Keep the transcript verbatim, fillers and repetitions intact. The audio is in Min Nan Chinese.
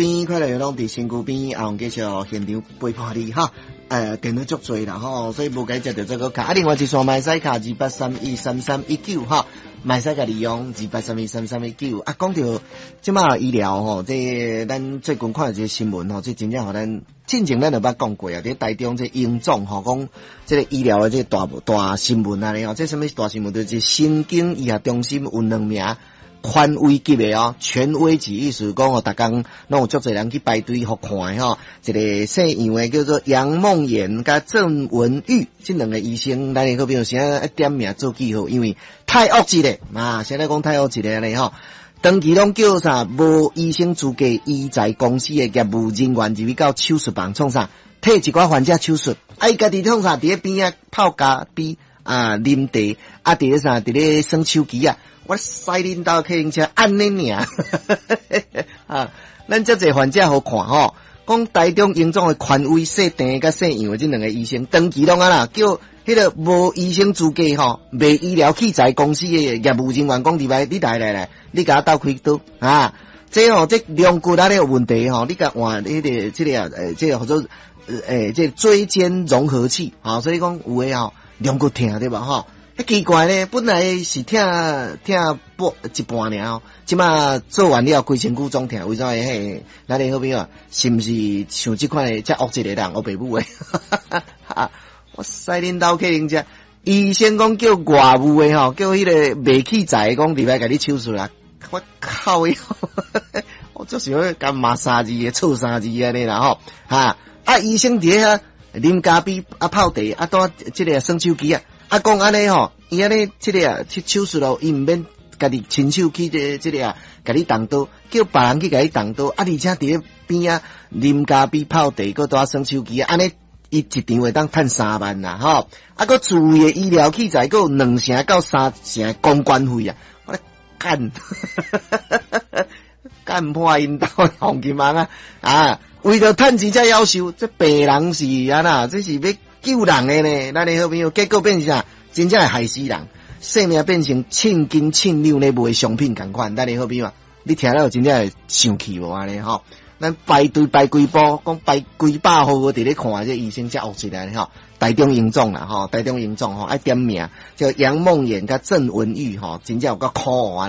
邊快樂攏佇身軀邊，啊，繼續現場陪伴你哈。呃，電話足濟啦吼，所以無該接著這個卡。啊，另外一線嘛會使敲二八三一三三一九哈，嘛會使共利用二八三一三三一九。啊，講著這馬醫療吼，這咱最近看一個新聞吼，這真正予咱進前咱就捌講過啊，佇台中這榮總吼，講這個醫療的這個大大新聞啊，吼，這啥物大新聞？就是神經醫學中心有兩名權威級的哦，權威級意思講哦，逐工攏有足濟人去排隊予看的吼。一個姓楊的叫做楊夢妍佮鄭文玉，這兩個醫生，咱的好朋友現在點名做記號，因為太惡質咧啊！現在講太惡質咧按呢吼，長期攏叫啥無醫生資格醫材公司的業務人員入去到手術房創啥，替一寡患者手術，啊伊家己創啥？佇咧邊仔泡咖啡啊，啉茶啊，佇咧啥？佇咧耍手機啊。我駛恁兜客運車按呢爾，啊！咱遮濟患者予看吼，講台中榮總的權威姓鄭佮姓楊的這兩個醫生，長期攏按呢叫彼個無醫生資格吼，賣醫療器材公司的業務人員講入來，你來來來，你共我鬥開刀啊！這吼這龍骨按呢有問題吼，你共換彼個這個啊，欸，這個號做欸，這個椎間融合器，啊，所以講有的吼龍骨疼對無吼？奇怪咧，本來是疼疼半一半爾哦，這馬做完了規身軀總疼，為啥會？嘿，咱的好朋友是毋是像這款的遮惡質的人？烏白母的，啊！我駛恁兜客人遮，醫生講叫外務的吼，叫彼個賣器材的講入來共你手術啦。我靠喲！我就是欲共罵三字的，臭三字按呢啦吼，哈！啊，醫生佇遐啉咖啡啊，泡茶啊，拄這個耍手機啊。啊，講按呢吼，伊按呢這個啊，去手術咯，伊毋免家己親手去這個這個啊，共你動刀，叫別人去共你動刀，啊，而且佇咧邊仔啉咖啡泡茶，閣拄耍手機，按呢伊一場會當趁三萬啦，吼！啊，閣自費的醫療器材，閣有兩成到三成公關費啊！我咧幹，幹破𪜶兜黃金網啊！啊，為著趁錢才夭壽，這病人是按呢？這是欲救人的呢，咱的好朋友，結果變成啥？真正會害死人，性命變成秤斤秤兩咧賣商品仝款。咱的好朋友，你聽了真正會生氣無按呢吼？咱排隊排幾步，講排幾百號佇咧看這醫生才惡質來吼。台中榮總啦吼，台中榮總吼愛點名，叫楊夢妍佮鄭文玉吼，真正有夠可惡按呢。